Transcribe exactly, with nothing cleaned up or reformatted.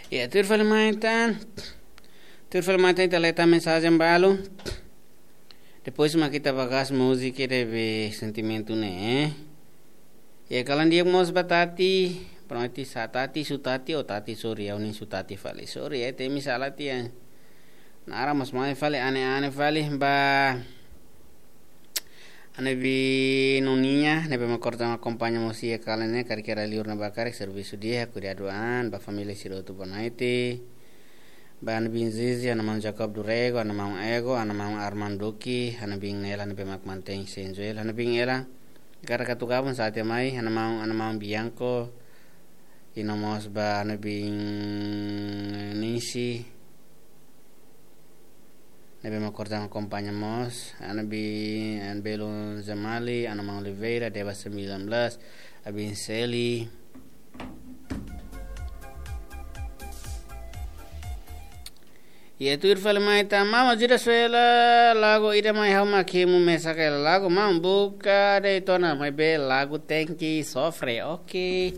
Ya, tuir fali mai tan. Tuir fali mai tan ita leta mensajen balu. Depois mak ita bagas múzika de be sentimentu ne'e. Ya, kalan dia mós ba Tati, pronto sa Tati, su Tati, o Tati, sorry, ya, unin su Tati fali. Sorry, ya, temi sala tian. Nara mós mai fali, ane-ane fali, ba. Ane bi noniña, ne'ebé mak korta mak akompaña mós iha kalan ne'e, karik iha liur ne'ebá karik servisu di'ak, kuidadu an, ba família sira hotu bonaite. Ba ane bin Zizi, ane maun Jacob Durego, ane maun Ego, ane maun Armando Duque, ane bin Nela, ne'ebé mak mantein Senjuel, ane bin Ela. Karik atu gabung sa tiha mai, ane maun, ane maun Bianco, i no mós ba ane bin Nisi, ne'ebé mak korta akompaña mós, ane bin, ane belun Zemali, ane maun Oliveira, Deba sembilan belas, abin Seli. Ya, tuir fali mai tan, maun ajuda suela, lagu ida mai ha'u mak hemu mesak hela lagu, maun buka de'it ona, maibé lagu tenke sofre, oke.